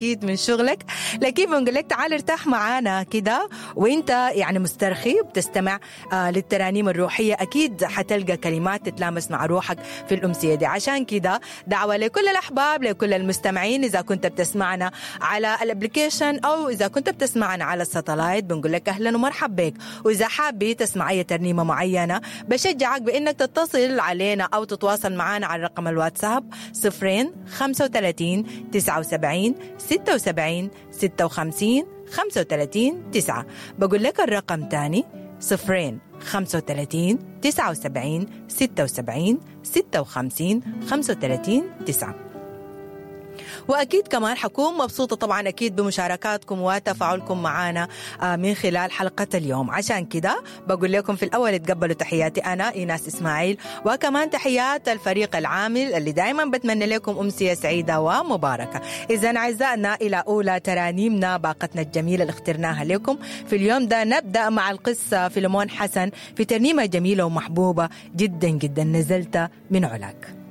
اكيد من شغلك، لكن بنقول لك تعال ارتاح معانا كده وانت يعني مسترخي وبتستمع للترانيم الروحية، اكيد حتلقى كلمات تتلامس مع روحك في الامسيه دي. عشان كده دعوه لكل الاحباب، لكل المستمعين، اذا كنت بتسمعنا على ال application او اذا كنت بتسمعنا على ال satellite بنقول لك اهلا ومرحبا بك. واذا حابي تسمع اي ترنيمة معينة بشجعك بانك تتصل علينا او تتواصل معنا على رقم الواتساب 0 35 79 76 56 35 9. بقول لك الرقم تاني 0 35 79 76 56 35 9. واكيد كمان حكون مبسوطة طبعا اكيد بمشاركاتكم وتفاعلكم معنا من خلال حلقة اليوم. عشان كده بقول لكم في الاول تقبلوا تحياتي انا ايناس اسماعيل، وكمان تحيات الفريق العامل اللي دائما بتمنى لكم امسية سعيدة ومباركه. اذا اعزائنا الى اولى ترانيمنا باقتنا الجميلة اللي اخترناها لكم في اليوم ده، نبدا مع القصة فيلمون حسن في ترنيمة جميلة ومحبوبه جدا جدا، نزلت من علاك.